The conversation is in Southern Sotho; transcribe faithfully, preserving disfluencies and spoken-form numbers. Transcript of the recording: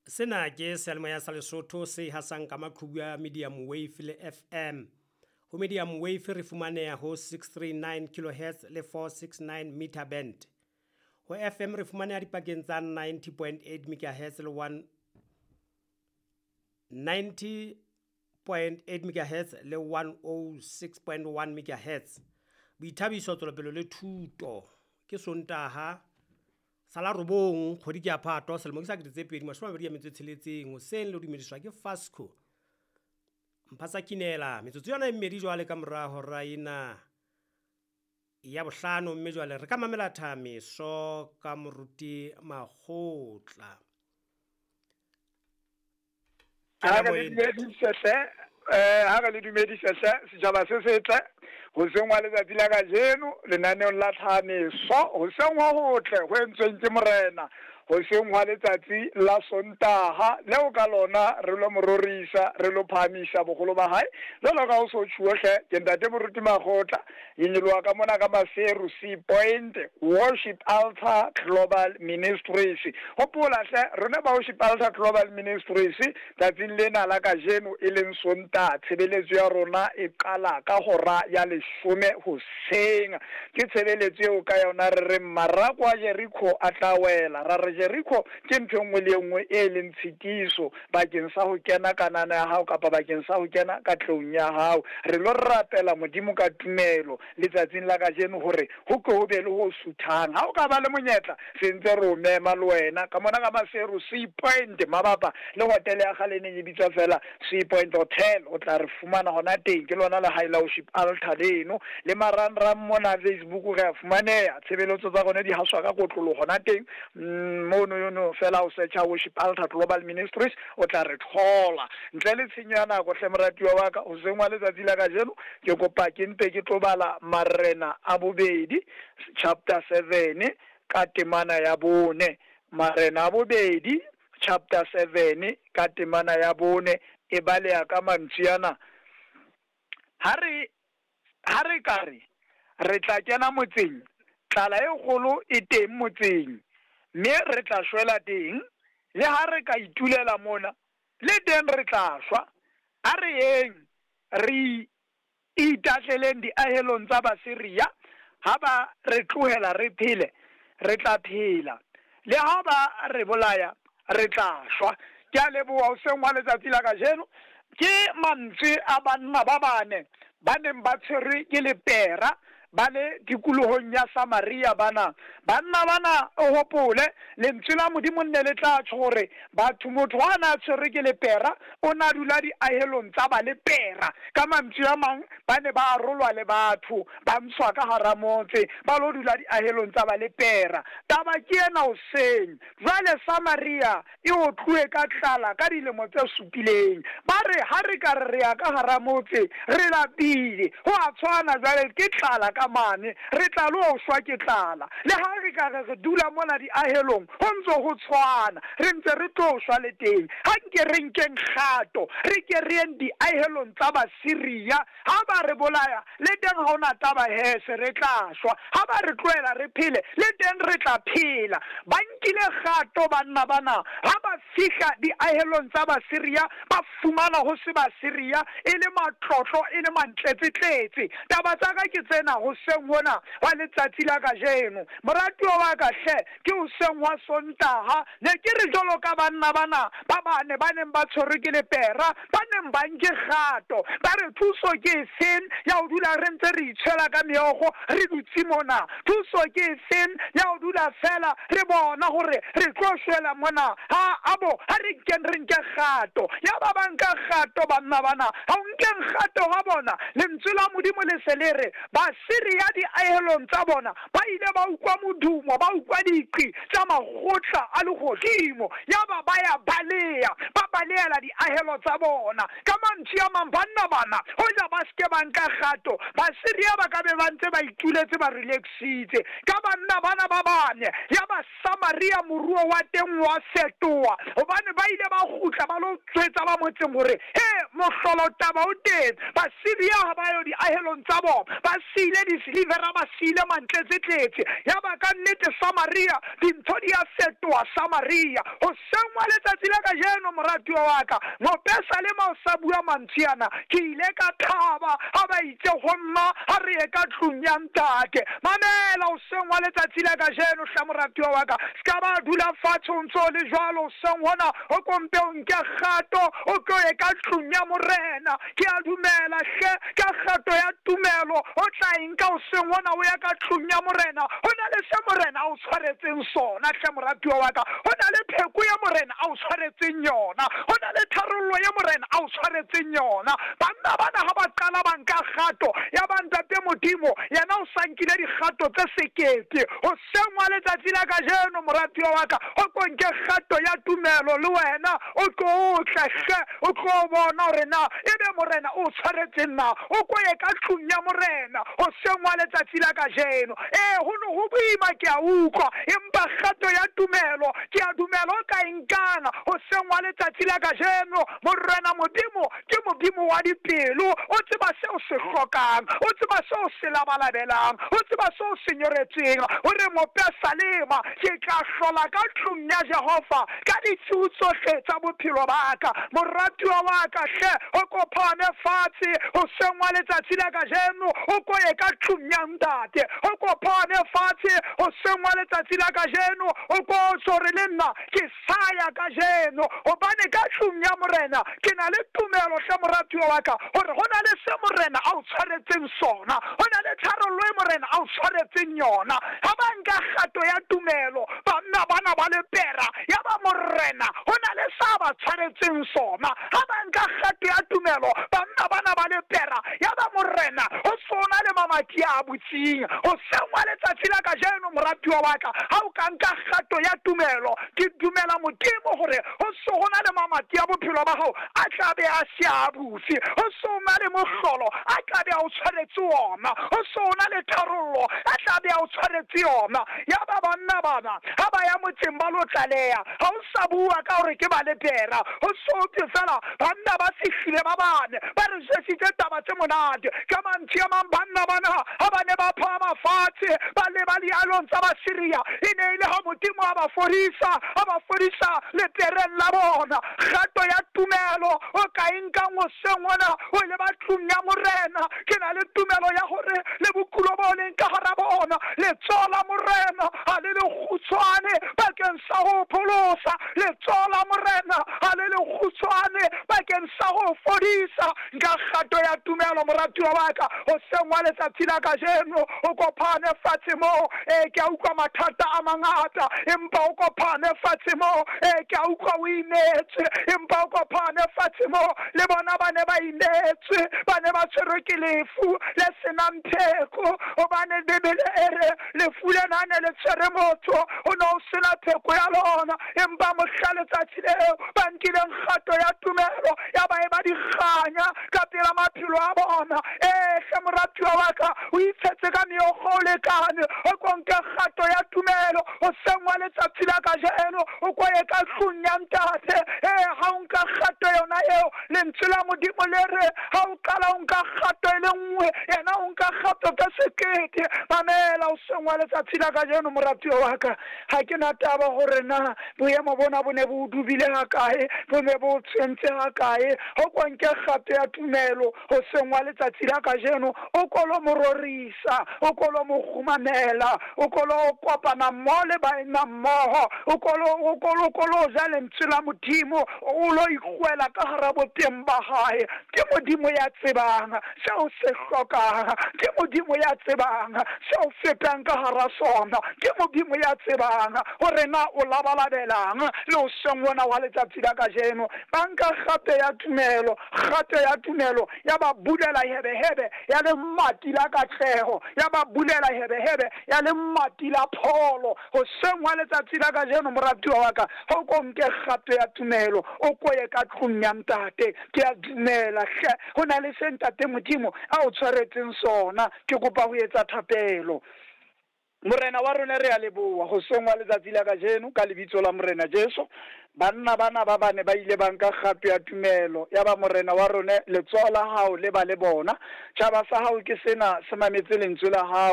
Sena ke seyalemoya sa Lesotho se hasang ka maqhubu a medium wave le F M. Ho medium wave re fumaneha ho six three nine kilohertz le four six nine meter band. Ho F M re fumaneha dipakeng tsa ninety point eight megahertz le one ninety point eight megahertz le one oh six point one megahertz. Boithabiso, tswelopele le thuto. Ke Sontaha sa la robong, kgwedi ke ya Phato, selemo ke sa kete tse pedi mashome a mabedi a metso e tsheletseng. Hoseng le dumediswa ke Fasco Mphasa Kinela. Metsotso yona e mmedi jwale ka mora hora ena ya bohlano, mme jwale re ka mamela thameso ka moruti Makgotla. Ha re le dumedise hle, eh ha re le dumedise hle, setjhaba se setle, hoseng wa letsatsi la kajeno lenaneong la tlhameso, hoseng ho hotle ho entsweng ke Morena, hoseng hwa letsatsi la Sontaha leo ka lona re lo mororisa, re lo phahamisa boholo ba hae. Jwalo ka ho so tjhuo hle, ke ntate moruti Makgotla, ke nyoloha ka mona ka Maseru, Sea Point, Worship Altar Global Ministries. Hopola hle, rona ba Worship Altar Global Ministries, tsatsing lena la kajeno e leng Sontaha, tshebeletso ya rona e qala ka hora ya leshome hoseng. Ke tshebeletso eo ka yona re reng marako a Jericho a tla wela. Ra re Jericho ke ntho e nngwe le e nngwe e leng tshitiso bakeng sa ho kena kanana ya hao kapa bakeng sa ho kena katlehong ya hao. Re lo rapela Modimo ka tumelo letsatsing la kajeno hore ho ke ho be le ho suthang. Ha o ka ba le monyetla, se ntse re o mema le wena ka mona ka Maseru, Sea Point, mabapa le hotele ya kgale e neng e bitswa fela Sea Point Hotel. O tla re fumana hona teng, ke lona lehae la Worship Altar leno. Le marangrang mona Facebook re a fumaneha, tshebeletso tsa rona di haswa ka kotloloho hona teng. Mm, mono yono fela o searcha Worship Altar Global Ministries, o tla re thola. Ntle le tshenyo ya nako hle, moratuwa wa ka, hoseng wa letsatsi la kajeno ke kopa ke mpe ke tlo bala Marena a Bobedi chapter seven ka temana ya bone. Marena a Bobedi chapter seven ka temana ya bone e baleha ka mantswe ana: ha re ha re ka re re tla kena motseng, tlala e kgolo e teng motseng, mme re tla shwela teng. Le ha re ka itulela mona, le teng re tla shwa. A re yeng, re itahleleng diahelong tsa Basiria. Ha ba re tlohela re phele, re tla phela, le ha ba re bolaya, re tla shwa. Ke a leboha. Hoseng wa letsatsi la kajeno ke mantswe a banna ba bane ba neng ba tshwerwe ke lepera, ba le tikolohong ya Samaria. Bana banna bana, o hopole lentswe la Modimo nne le tla tjho hore batho, motho ha na tshwerwe ke lepera, o na dula diahelong tsa ba lepera. Ka mantswe a mang, ba ne ba arolwa le batho, ba ntshwa ka hara motse, ba lo dula diahelong tsa ba lepera. Taba ke ena hoseng jwale, Samaria e otluwe ka tlala ka dilemo tse supileng. Ba re ha re ka re re ya ka hara motse, re lapile, ho a tshwana jwale ke tlala ka mane, re tla lo shwa ke tlala. Le ha re ka re re dula mona diahelong, ho ntse ho tshwana, re ntse re tlo shwa le teng. Ha nke re nkeng kgato, re ke re yeng diahelong tsa Basiria. Ha ba re bolaya, le teng ha hona taba, hese re tla shwa. Ha ba re tlohela re phele, le teng re tla phela. Ba nkile kgato banna bana. Ha ba fihla diahelong tsa Basiria, ba fumana ho se Basiria, e le matlotlo, e le mantletsetletse. Taba tsa ka ke tsena hoseng hona wa letsatsi la kajeno, moratuwa wa ka hle. Ke hoseng wa Sontaha, ne ke re jwalo ka banna bana ba bane ba neng ba tshwerwe ke lepera, ba neng ba nke kgato, ba re thuso ke efeng ya ho dula re ntse re itshwela ka meokgo re dutse mona? Thuso ke efeng ya ho dula fela re bona hore re tlo shwela mona? Ha abo ha re nkeng, re nke kgato. Ya ba ba nka kgato banna bana. Ha o nkeng kgato ha bona, lentswe la Modimo le se le re Basiria diahelong tsa bona ba ile ba utlwa modumo, ba utlwa diqi tsa makgotla a lehodimo, ya ba ba ya baleya, ba balehela diahelo tsa bona. Ka mantswe a mang, banna bana hoja ba seke ba nka kgato, Basiria ba ka be ba ntse ba ituletse, ba relaxitse ka banna bana ba bane. Ya ba Samaria moruo wa teng wa fetoha. Hobane ba ile ba kgutla ba lo tswetsa ba motseng hore he mohlolo taba o teng. Basiria ha ba yo diahelong tsa bona, ba siile disilivera, ba siile mantletse tletse. Ya ba ka nnete Samaria dintho di a fetoha Samaria. Hoseng wa letsatsi la kajeno moratuwa wa ka, mopesalema o sa bua mantswe ana, ke ile ka thaba ha ba itse ho nna ha re ye ka tlung ya ntate. Mamela hoseng wa letsatsi la kajeno hla moratuwa wa ka, ska ba dula fatshe o ntso le jwalo hoseng hona, o kompe o nke kgato o tlo ye ka tlung ya morena. Ke a dumela hle ka kgato ya tumelo o tla e nka hoseng hona o ya ka tlung ya morena. Ho na le se morena a o tshwaretseng sona hle moratuwa wa ka, ho na le pheko ya morena a o tshwaretseng yona, ho na le tharollo ya morena a o tshwaretseng yona. Banna bana ha ba qala ba nka kgato ya ba ntate Modimo, yena o sa nkile dikgato tse sekete. Hoseng wa letsatsi la kajeno moratuwa wa ka, o ko nke kgato ya tumelo le wena, o tlo tle hle, o tlo bona hore na ebe morena o tshwaretseng na, o ko ye ka tlung ya morena hoseng wa letsatsi la kajeno. Ee, ho no ho boima ke a utlwa, empa kgato ya tumelo ke a dumela o ka e nkana hoseng wa letsatsi la kajeno. Morena Modimo ke Modimo wa dipelo, o tseba seo se hlokang, o tseba seo se labalabelang, o tseba seo se nyoretseng. Hore mopesalema, ke tla hlola ka tlung ya Jehova ka ditshiu tsohle tsa bophelo ba ka. Moratuwa wa ka hle, o kopane fatshe hoseng wa letsatsi la kajeno, o ko ye ka tlung ya ntate. O kopane fatshe hoseng wa letsatsi la kajeno, o ko tsore le nna ke sa ya kajeno, hobane ka tlung ya morena ke na le tumelo hle moratuwa wa ka, hore ho na le se morena a o tshwaretseng sona, ho na le tharollo e morena a o tshwaretseng yona. Ha ba nka kgato ya tumelo banna bana ba lepera, ya ba morena ho na le sa ba tshwaretseng sona. Ha ba nka kgato ya tumelo banna bana ba lepera, ya ba morena ho sona le mamati a butseng. Hoseng wa letsatsi la kajeno moratuwa wa ka, ha o ka nka kgato ya tumelo, ke dumela Modimo hore ho so ho na le mamati a bophelo ba hao a tla be a se a butse, ho so na le mohlolo a tla be a o tshwaretse ona, ho so na le tharollo a tla be a o tshwaretse yona. Ya ba banna bana ha ba ya motseng ba lo tlaleha, ha o sa bua ka hore ke ba lepera, ho so thwe fela banna ba fihlile ba bane ba re jwetsitse taba tse monate. Ka mantswe a mang banna bana ha ba ne ba phahama fatshe ba leba dialong tsa Basiria, e ne e le ha Modimo a ba fodisa, a ba fodisa lepereng la bona. Kgato ya tumelo o ka e nkang hoseng hona o leba tlung ya morena, ke na le tumelo ya hore le bokulo bo leng ka hara bona, letsoho la morena ha le le kgutshwane bakeng sa ho pholosa, letsoho la morena ha le le kgutshwane bakeng sa ho fodisa. Nka kgato ya tumelo moratuwa wa ka hoseng wa letsatsi la kajeno, o kopane fatshe moo. Ee, ke a utlwa mathata a mangata, empa o kopane fatshe moo. Ee, ke a utlwa o imetswe, empa o kopane fatshe moo. Le bona ba ne ba imetswe, ba ne ba tshwerwe ke lefu le senang pheko, hobane Bibele e re lefu lena ne le tshwere motho, o ne o sena pheko ya lona. Empa mohla letsatsi leo ba nkileng kgato ya tumelo, ya ba e ba dikganya ka pela maphelo a bona. Ee hle moratuwa wa ka, o itshetse ka meokgo o lekane, o ko nke kgato ya tumelo hoseng wa letsatsi la kajeno, o ko ye ka tlung ya ntate. Ee, ha o nka kgato yona eo, lentswe la Modimo le re ha o qala o nka kgato e le nngwe, yena o nka kgato ka sekete. Mamela hoseng wa letsatsi la kajeno moratuwa wa ka, ha ke na taba hore na boemo bona bo ne bo dubile hakae, bo ne bo tshwentse hakae. O ko nke kgato ya tumelo hoseng wa letsatsi la kajeno, o ko lo mo rorisa, o ko lo mo kgumamela, o ko lo kopana mmoho le baena mmoho, o ko lo o ko lo ko lo ja lentswe la Modimo, o lo ikgwela ka hara boteng ba hae. Ke Modimo ya tsebang seo se hlokang, ke Modimo ya tsebang seo fetang ka hara sona, ke Modimo ya tsebang hore na o labalabelang le hoseng ona wa letsatsi la kajeno. Ba nka kgato ya tumelo, kgato ya tumelo ya ba bulela hebehebe ya lemati la katleho, ya ba bulela hebehebe ya lemati la pholo. Hoseng wa letsatsi la kajeno moratuwa wa ka, ha o ko nke kgato ya tumelo, o ko ye ka tlung ya ntate. Ke a dumela hle ho na le se ntate Modimo a o tshwaretseng sona. Ke kopa ho etsa thapelo. Morena wa rona re a leboha hoseng wa letsatsi la kajeno ka lebitso la Morena Jesu. Banna bana ba bane ba ile ba nka kgato ya tumelo ya ba Morena wa rona, letsoho la hao le ba le bona. Tjhaba sa hao ke sena se mametse lentswe la hao.